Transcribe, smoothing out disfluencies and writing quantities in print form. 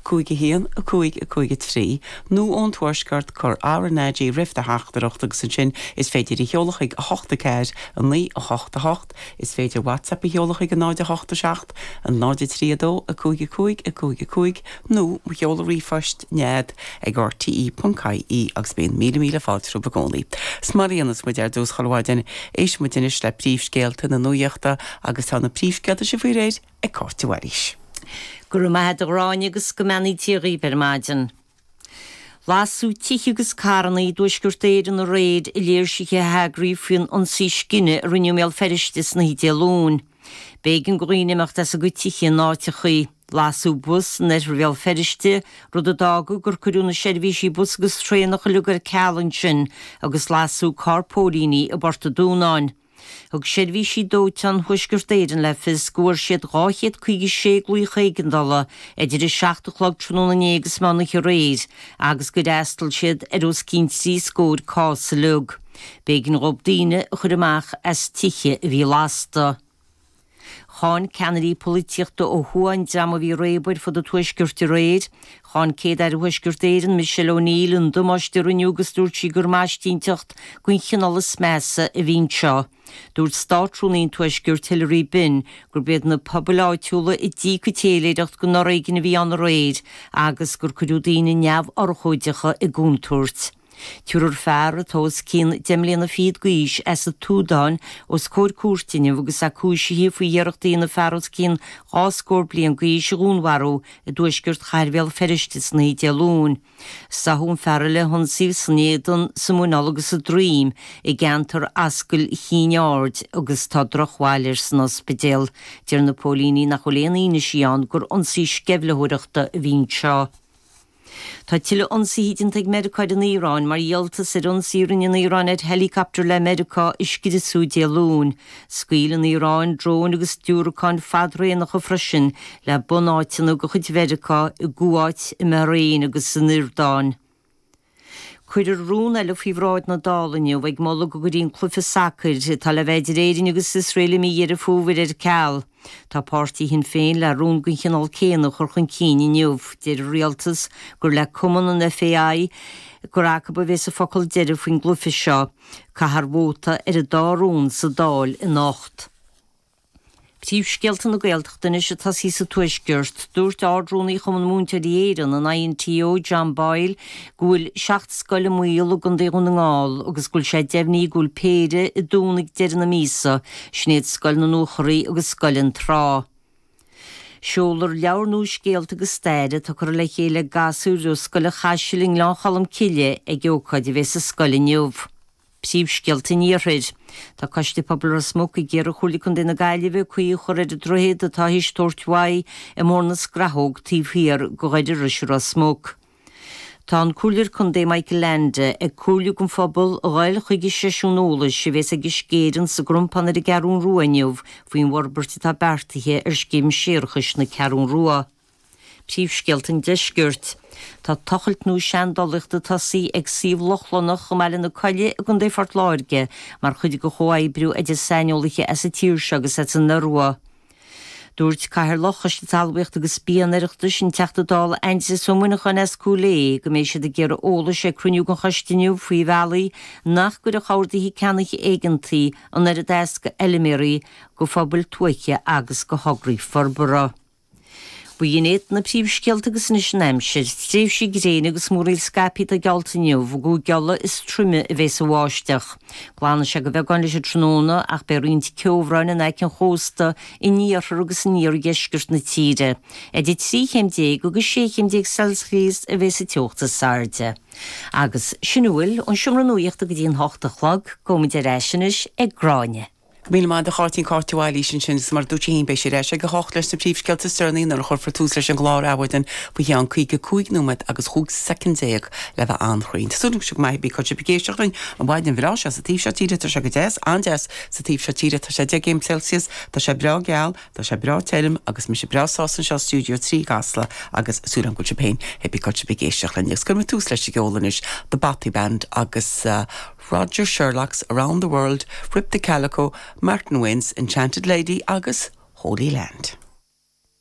5 1 5 5 3, nó ón Tuaisceart, cuir RnaG roimh do theachtaireacht agus ansin is féidir í a sheoladh chuig 8 4 9 8 8. Is féidir WhatsApp a sheoladh chuig 0 8 7 0 3 2 5 5 5 5 nó mo sheoladh ríomhphoist nead ag rte.ie agus bíonn míle míle fáilte romhaibh i gcónaí. 'S mar a dhéanas muid ar dtús chuile mhaidin, éistfidh muid anois le príomhscéalta na nuaíochta agus tá na príomhscéalta sin faoi réir ag Cáit de Bhailís. Go raibh maith a't a Ghráinne agus go mbeannaí Dia dhaoibh ar maidin. Lasadh tithe agus carranna i dTuaisceart Éireann aréir i léirsithe a heagraíodh faoin ionsaí scine a rinneadh i mBéal Feirste san oíche Dé Luain. B'éigean do dhaoine imeacht as a gcuid tithe in áiteachaí. Lasadh bus in oirthear Bhéal Feirste, rud a d'fhág gur cuireadh na seirbhísí bus agus traenach uilig ar ceal ansin agus lasadh carr póilíní i bPort an Dúnáin. Thug seirbhísí dóiteáin Thuaisceart Éireann le fios go bhfuair siad 256 glaoch éigeandála idir 7 a chlog tráthnóna inné agus meán oíche aréir agus gur fhreastail siad ar os cionn trí scór cás uilig. B'éigean dhóibh daoine a chur amach as tithe a bhí lasta. Cháin ceannairí polaitíochta ó thuaidh an dream a bhí ag réabadh ar fud an tuaiscirt aréir. Cháin Céad-Aire Thuaisceart Éireann, Michelle O'Neill, an damáiste a rinneadh agus dúirt sí gur maistíneacht den chineál is measa a bhí anseo. Dúirt Státrúnaí an Tuaiscirt, Hilary Benn, gurb iad na pobail áitiúla a d'íoc an téiléireacht den fhoréigean a bhí ann aréir agus gur cuireadh daoine neamhurchóideacha i gcontúirt. Tabharfar fear atá os cionn deich mbliana fichead d'aois as an tSúdáin os comhair cúirte inniu agus é cúisithe faoi iarracht a dhéanamh fear os cionn dhá scór bliain d'aois a dhúnmharú i dtuaisceart chathair Bhéal Feirste san oíche Dé Luain. Sáthadh an fear le hionsaí san éadan, sa muineál agus sa droim i gceantar Ascaill Chinn Aird agus tá drochbhail air san ospidéal. Deir na póilíní nach bhfuil aon fhianaise ann gur ionsaí sceimhlitheoireachta a bhí anseo. Tá tuilleadh ionsaithe déanta ag Meiriceá ar an Iaráin mar dhíoltas ar ionsaí a rinne an Iaráin ar helicopter le Meiriceá a scriosadh Dé Luain. Scaoil an Iaráin dróin agus diúracáin fadraonacha freisin le bunáiteanna de chuid Mheiriceá i gCuáit, i mBahrain agus san Iordáin. Cuirfear rún eile faoi bhráid na Dála inniu ag moladh go gcuirfí an cluiche sacair atá le bheith idir Éirinn agus Iosrael i mí Dheireadh Fómhair ar ceal. Tá páirtí Shinn Féin le rún den chineál céanna a chur chun cinn inniu. Deir an Rialtas gur le cumann an FAI gur acu a bheas an focal deiridh faoin gcluiche seo. Caithfear vóta ar an dá rún sa Dáil anocht. Príomhscéalta na Gaeltachta anois ag tosaí sa Tuaisceart. Dúirt Ard-Rúnaí Chumann Múinteoirí Éireann, an INTO, John Boyle, go bhfuil 7 scoil i mbaol i gContae Dhún na nGall agus go bhfuil sé deimhnithe go bhfuil péire ag dúnadh ag deireadh na míosa, sin iad Scoil na Luachraí agus Scoil an Trá. Seolfar leabhar nua scéalta agus staire atá curtha le chéile ag gasúir ó Scoil an Chaisil i nGleann Cholm Cille ag ócáid a bheidh sa scoil inniu. Príomhscéalta an Iarthair. Tá Coiste Pobail Ros Muc ag iarraidh ar Chomhairle Contae na Gaillimhe caoi a chur ar an droichead atá théis tabhairt uaidh i mBóthar na Scrathóg taobh thiar de Dhoire Rois i Ros Muc. Tá an Comhairleoir Contae Michael Leainde ag comhairliú don phobal a ghoil chuig an seisiún eolais a bhéas ag Uisce Éireann sa gCrompán ar an gCeathrún Rua inniu faoin bhforbairt atá beartaithe ar scéim séarachais na Ceathrún Rua. Príomhscéalta an Deiscirt. Tá tochailt nua seandálaíochta tosaithe ag suíomh Lochlannach i mBaile na Coille i gContae Phort Láirge mar chuid de chomhoibriú idir saineolaithe as an tír seo agus as an Iorua. Dúirt Cathaoirleach Choiste Talmhaíochta agus Bia an Oireachtais, an Teachta Dála Aindrias Ó Muineacháin as Cúil Aodha, go mbeidh siad ag iarraidh eolais ag cruinniú den choiste inniu faoi bhealaí nach gcuirfeadh orduithe ceannaithe éigeantaí an oiread as do fheilméaraí, do phobail tuaithe agus do thograí forbartha. B'in iad na príomhscéalta agus anois an aimsir. Tréimhsí gréine agus múraíl scaipthe atá geallta inniu. I gCúige Uladh is troime a bheas an bháisteach. Glanfaidh sé de bheagán leis an tráthnóna ach beidh roinnt ceobhráin in aice an chósta in iarthar agus in iardheisceart na tíre. Idir 13 chéim agus 16 chéim Celsius a bheas an teocht is airde. Agus sin a bhfuil ón seomra nuaíochta go dtí an hocht a chlog. Gabhaimid ar ais anois ag Gráinne. Go míle maith agat a Cháitín, Cáit de Bhailís ansin agus mar a dúirt sí féin beidh sí ar ais ag a hocht leis na príomhscéalta is deireanaí nuair a chuirfear tús leis an gclár Adhmhaidin faoi cheann 55 nóiméad agus 15 soicind le bheith an-chruinn. Tá súil agam go maith bíonn sibh ag éisteacht linn an mhaidin bhreá seo sa taobh seo tíre tá sé go deas, an-deas sa taobh seo tíre tá sé 10 gcéim Celsius, tá sé breá geal, tá sé breá tirim agus mise breá sásta anseo i Stiúideo 3 i gCasla agus súil agam go bhfuil sibh féin pé cá bhfuil sibh ag éisteacht linn agus cuirfidh muid tús leis an gceol anois The Bothy Band agus Roger Sherlock's Around the World, Rip the Calico, Martin Wayne's Enchanted Lady agus Holy Land.